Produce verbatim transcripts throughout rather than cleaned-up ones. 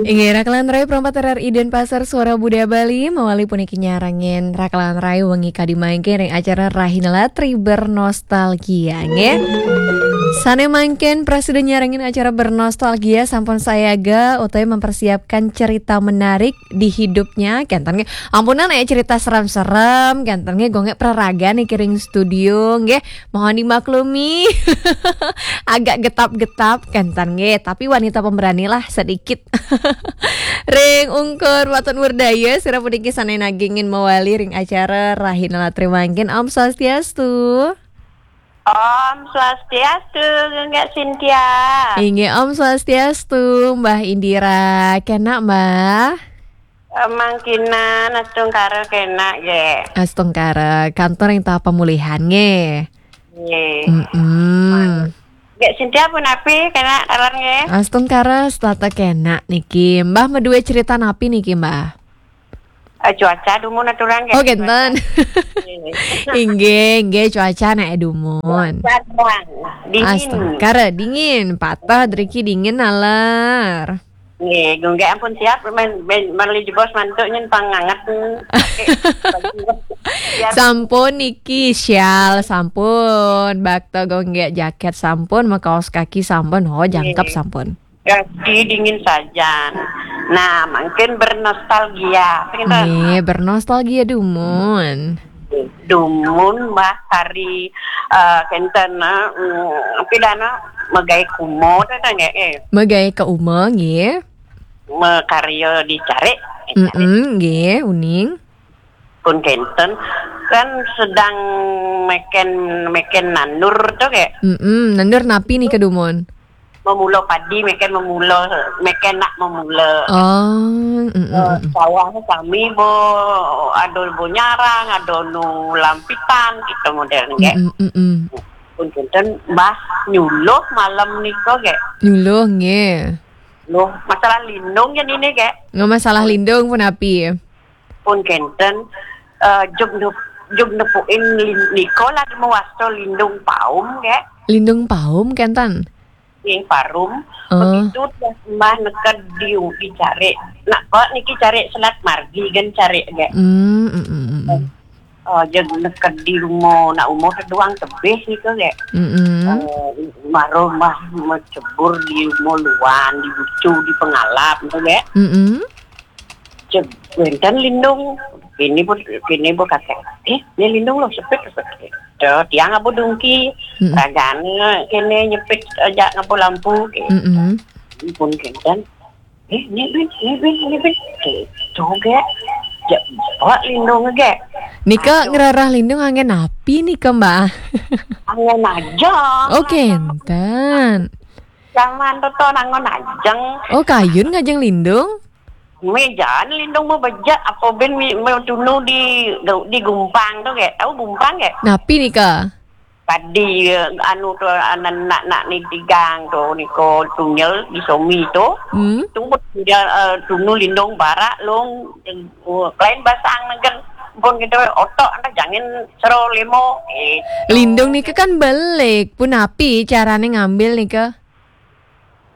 Inggih, Rakalan Rai, perempat R R I Denpasar, Suara Budaya Bali, mawali puniki nyarengin Rakalan Rai wengi kadi mangkin ring acara Rahina Latri Bernostalgia, nggih. Sane mangkin prasida nyarengin acara Bernostalgia sampun sayaga utawi mempersiapkan cerita menarik di hidupnya, kenten nggih. Ampunang nek cerita serem-serem, kenten nggih, gonggek praraga niki ring studio, nggih. Mohon dimaklumi. Agak getap-getap, kenten nggih. Tapi wanita pemberani lah sedikit. Ring ungkur waton werdaya, sira puniki sane nagingin mawali ring acara Rahina Latri mangkin. Om Swastiastu. Om Swastiastu, Gunggak Cynthia. Inggih, Om Swastiastu, Mbah Indira. Kenak, Mbah? Eh, mangkinan, astungkara kenak, nggih. Astungkara, kantur ring taap pemulihan, nggih. Nggih. Mm-mm. Gunggak Cynthia punapi, kenak taler, nggih? Astungkara, setata kenak niki. Mbah madue cerita napi niki, Mbah? Eh, cuaca dumun aturang, nggih. Oh, kenten. Cuaca. Nggih. Inggih, nggih, cuaca nek dumun. Cuaca terang, dingin. Astungkara, dingin. Patah driki dingin naler. Nggih, Gunggak ampun siap, men, men, meli jebos mantuk nyen pang anget. Biar sampun niki, syal sampun, bakta Gunggak, jaket sampun, makaos kaki sampun, ho, jangkep. Nggih. Sampun. Kaki dingin sajan. Nah, mungkin bernostalgia. Apa kita? Nggih, bernostalgia dumun. Dumun, Mbah, hari, eh, kenten, eh, mm, pidana megai kumo, tata nggih, eh. Megai ka uma, nggih. Makarya di carik, eh, carik. Mm-mm, nggih, uning. Pun kenten, kan sedang meken, meken nandur to, nggih. Mm-mm, nandur napi nika dumun? Memula padi, meken memula, meken nak memula. Oh, mm, mm, eh, mm, mm. Sawah sami bo, ada bo nyarang, ada nu lampitan, gitu model nggih. Mm, mm, mm, mm. Pun kenten, Mbah, nyuluh malam nika, nggih. Nyuluh, nggih. Loh, masalah lindung ya nini, nggih. Nggih, masalah lindung punapi? Pun kenten, eh, jug nup-, jug nepukin lin-, nika lah mawasta lindung paum, nggih. Lindung paum kenten? Nggih, parum. Oh. Begitu dah Mbah neked di, di carik. Nak kok niki carik selat margi kan carik, nggih. Hmm, mm, mm, mm, mm. Eh, jeg neked di uma, nak uma seduang tebih nika, nggih. Mm-mm. Eh, mara Mbah macebur di uma luan, di bucu, di pengalap, nggih. Mm-mm. Jeg wenten lindung. Kini pun, kini pun kata, "Eh, ni lindung loh, sepit, sepit." Tuh, tiang ngaba dungki, mm-mm, ragane kene nyepit aja ngaba lampu, gitu. Mm-mm. Pun kenten, "Eh, ni bin, ni bin, ni bin." Gitu, nggih. Ja, bawa lindung, nggih. Nika. Aduh. Ngrereh lindung anggen napi nika, Mbah? Anggen ajeng. Oh, kenten. Zaman to, to anggen ajeng. Oh, kayun ngajeng lindung? Mejan lindung mah bejek, apa bin mi-, mau tunu di, di gumpang to, nggih. Tahu gumpang, nggih? Napi nika? Padi, eh, anu to, anak-anak ni tigang to, niko tunyel di somi to. Hmm. Tunggu dia, eh, tunu lindung barak long, eh, klain basang negen. Pun kita otok, anda jangan sero lemo. Eh. Lindung nika kan belik, punapi carane ngambil nika?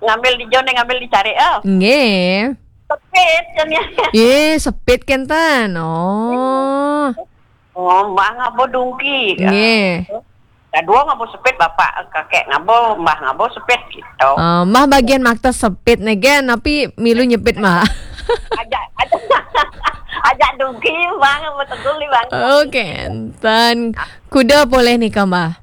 Ngambil di jone, ngambil di carik, oh. Nggih. Sepit, kan ya? Ye, sepit kenten. Oh. Oh, Mbah ngabo dungki. Nggih. Kadua ngabo sepit, bapak, kakek ngabo, Mbah ngabo sepit, gitu. Oh, Mbah bagian makta sepit negen, napi milu nyepit, Mbah? Ajak, ajak, ajak dungki, Mbah ngabo tegul ni, Mbah. Oh, kenten. Kuda boleh nika, Mbah?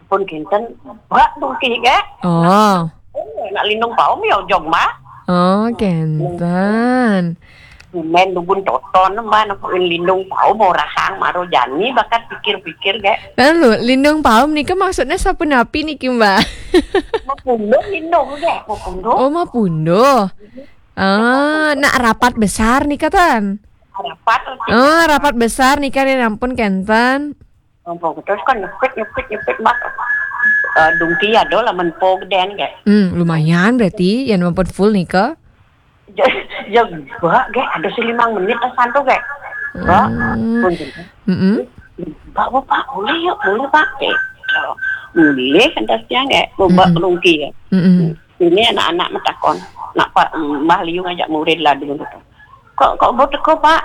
Pun kinten, bak dungki, nggih. Oh. Oh, nak lindung paum ya jog, Mbah. Oh, kenten. Main dubun toton, Mbah, nak lindung paum orahang maro jani bakat pikir-pikir, nggih. Lalu, lindung paum nika maksudnya sapunapi niki, Mbah? Mapunduh lindung, nggih, mapunduh. Oh, mapunduh. Ah, nak rapat besar nika, tan? Rapat. Oh, rapat besar nika, nih, ampun, kenten. Ampun, terus kan nyepit, nyepit, nyepit, Mbah. Eh, dungki ada lah menpo geden, nggih. Hmm, lumayan berarti, yang ampun full nika. Ja-, ja, Mbah, nggih, ada si limang menit lah santu, nggih. Mbah, hmm, pun gitu. Mm-mm. Mbah, Mbah, Pak, boleh yuk, boleh, Pak. Eh, boleh, kan, siang, nggih. Mbah, mm-mm, dungki, ya. Mm-mm. Ini anak-anak metakon. Nak Pak, Mbah Liu ngajak murid ladung tu. Kok, kok bo teko, Pak?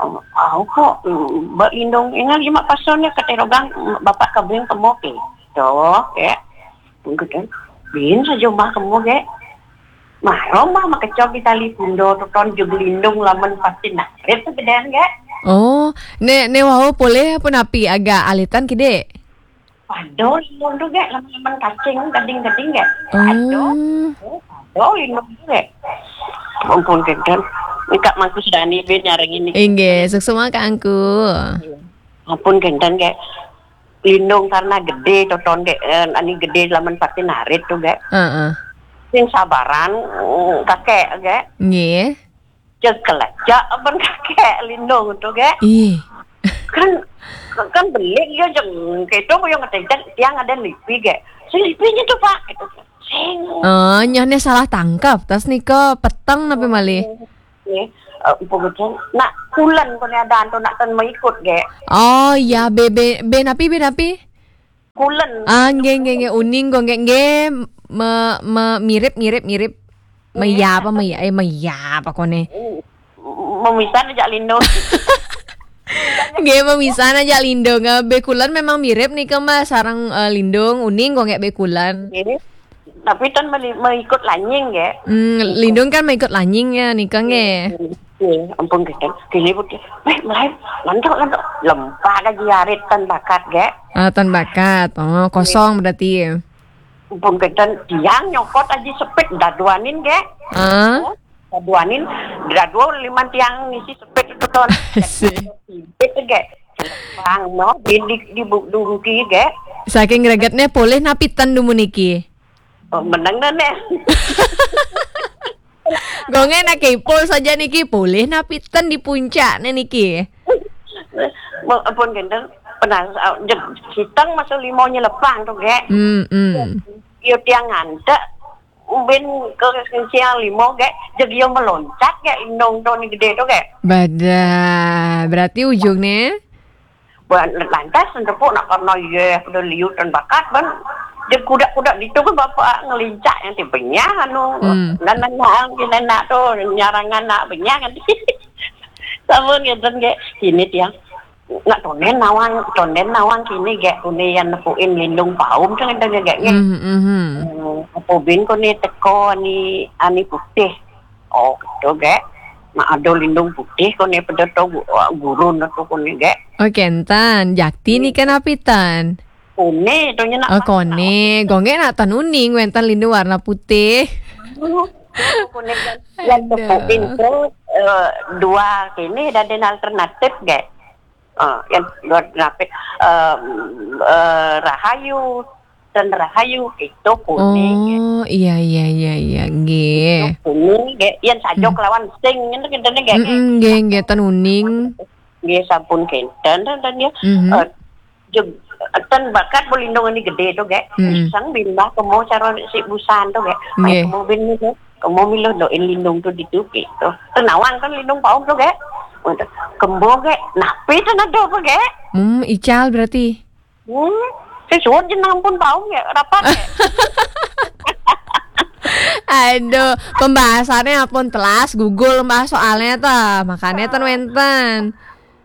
Oh, au kok, mm, ba lindung. Ingat cuma pasal ni kata rogang, mm, bapak kabing kemo ke. Toh, ke. Mungkin bin saja Mbah kemo ke. Maro Mbah makecok di tali pundo tu ton jug lindung lamen pasti narit tu gedean ke. Oh, ne, ne wau poleh apa napi agak alitan kide? Pado lindung tu, Gek, laman-laman kacing, gading-gading, Gek. Pado. Oh. Oh, pado lindung tu, Gek. Ampun, kenten. Engkak mangkus Dani bin nyarang ini. Inggih, suksma Kak Angku. Ampun, kenten, Gek. Lindung karena gede, toton, Gek. Eh, ani gede laman patin arit tu, Gek. Heeh. Sing sabaran, mm, kakek, Gek. Nggih. Cekelajak aban kakek lindung tu, Gek. Ih. Kan, kan belik ya jeng. Keto yang ngetencet tiang ada lipi, Gek. Si lipinya tu, Pak. Gitu. Sing. Oh, nyoh ne salah tangkap. Tas nika peteng napi malih? Nggih. Eh, Empu Gejeng. Nak kulen ko ne ada antu nak ten mengikut, Gek. Oh, ya, be, be, be napi, be napi? Kulen. Ah, nggih, nggih, nggih. Uning go nggih, nggih. Me, me, mirip, mirip, mirip. Meya apa meya? Eh, meya apa kone? Memisan aja lindung. Nggih, memisan aja lindung. Eh, bekulan memang mirip nih, Mbak, sarang, eh, lindung, uning go nggih bekulan. Nggih. Tapi ten meli-, mengikut lanying, Gek. Hmm, lindung kan mengikut lanying ya, nika nggih. Nggih, ampun, Gek. Kini putih. Weh, mulai. Lantuk, lantuk. Lempak aja arit ten bakat, Gek. Ah, ten bakat. Oh, kosong berarti. Ampun, Gek. Tiang nyokot aja sepit daduanin, Gek. Ah. Oh, daduanin, dadua lima tiang ngisi sepit itu ton. Sih. Sepit, Gek. Bang, no, di, di, di bu-, dungki, Gek. Saking gregetnya poleh napi ten dumun niki? Oh, menang dah, Nek. Gonge nak kepo saja niki, poleh napi ten di puncak ne niki? Mo-, ampun, kenten. Penas-, ah, jeg-, sitang masuk limo nyelepang tu, Gek. Hmm, hmm. Yo tiang ngantek, ubin ke siang limo, Gek. Jeg yo meloncat, Gek, indung tu ni gede tu, Gek. Badah, berarti ujung ne? Ban lantas tepuk nak karena ye, pada liut dan bakat, ban. Dia kuda-kuda ditu kan bapak ngelincak yang ti benyah, anu. Hmm. Dan nanya, kena nak tu, nyarangan nak benyah kan. Sampun ngeten, Gek. Kini tiang. Nak tonden nawang, tonden nawang kini, Gek. Kuni yang nepuin lindung paum tu ngeten, Gek, nggih. Hmm, hmm, hmm. Hmm, apa bin kuni teko ani, ani putih. Oh, gitu, Gek. Mak ada lindung putih kuni pada tu gu-, gurun tu kuni, Gek. Oh, kenten. Jakti ni kan apitan? Kuni tu nya nak. Oh, kone. Gonge nak tan uning, wenten lindung warna putih. Kuni kan. Yang Aduh. Tepuin tu, eh, dua kini dan alternatif, Gek. Ah, yang dua alternatif, eh, eh, rahayu, dan rahayu, itu kuni, Gek. Oh, iya, iya, iya, iya, nggih. Itu kuni, Gek. Yang sajok Hmm. Lawan sing, ini kita ni, Gek. Mm-mm, nggih, nggih, ten uning. Nggih, sampun kenten, dan, dan dia, Mhm. eh, jeg-, ten bakat belindung ini gede tu, Gek. Hmm. Iseng bimbah kemo cara si busan tu, Gek. Mai Nggih. Kemo bin ni, Gek. Kemo milu doin lindung tu ditu, gitu. Tenawang kan lindung paum tu, Gek. Kembo, Gek. Napi tu nado apa, Gek? Hmm, ical berarti. Hmm, sesuai jenang pun paum ya, rapat ya. Aduh, pembahasannya pun telas, gugul, Mbah, soalnya tuh. Makanya tuh wenten.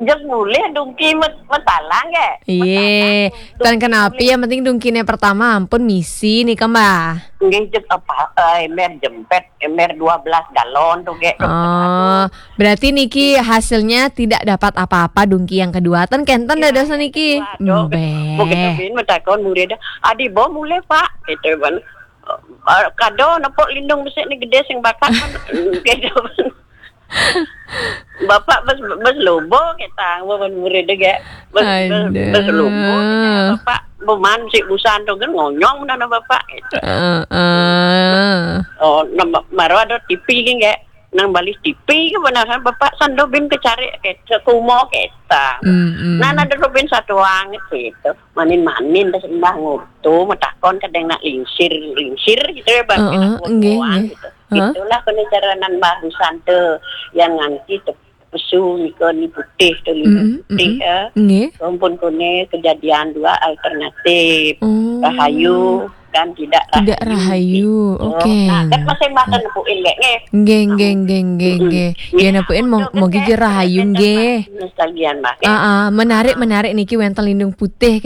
Jeng mulih dungki met-, metalang ya. Iya. Metalang, Tan dungki kenapi mulih. Yang penting dungkine pertama ampun misi nih, Mbah. Nggih, jeng apa, eh, emer jempet, emer dua belas galon tuh, Gek. Oh, berarti niki hasilnya tidak dapat apa-apa dungki yang kedua. Ten kenten Iya, dados yang niki. Kedua, tuh. Mbeh. Mungkin bin metakon murid, "Adi bo mulih, Pak?" Gitu kan. "Eh, kado nepuk lindung besik ni gede sing bakat kan." Gitu kan. Bapak bes, bes lobo kita, bapak murid dia. Bes, bes, bes lobo kita, Aduh. Bapak beman si busan tu kan ngonyong mana bapak gitu. Heeh. Oh, nama, baru ada T V kan, Gek. Nang balik T V ke benar kan, bapak sando bin kecari ke, ke kumo kita. Mm, mm. Nah, ada bin satu orang gitu. Manin-manin dah sembah ngutu, metakon kadang nak lingsir, lingsir gitu ya, Bang. Heeh, Nak nggih, kuat nggih. Gitu. Heeh. Itulah kena cara nan barusan tu yang nganti tu pesu nika ni putih tu, lima Mm, putih, mm. Ya. Nggih. Ampun kone kejadian dua alternatif. Oh. Rahayu. Kan tidak Tidak rahayu. Oke. Nah, kan masih makan nepuin nggih, nggih. Nggih, nggih, nggih, nggih, nggih. Ya, nepuin mo-, mogi je rahayu nggih. Sekalian, Mbak. Ah, ah, menarik, menarik niki wenten lindung putih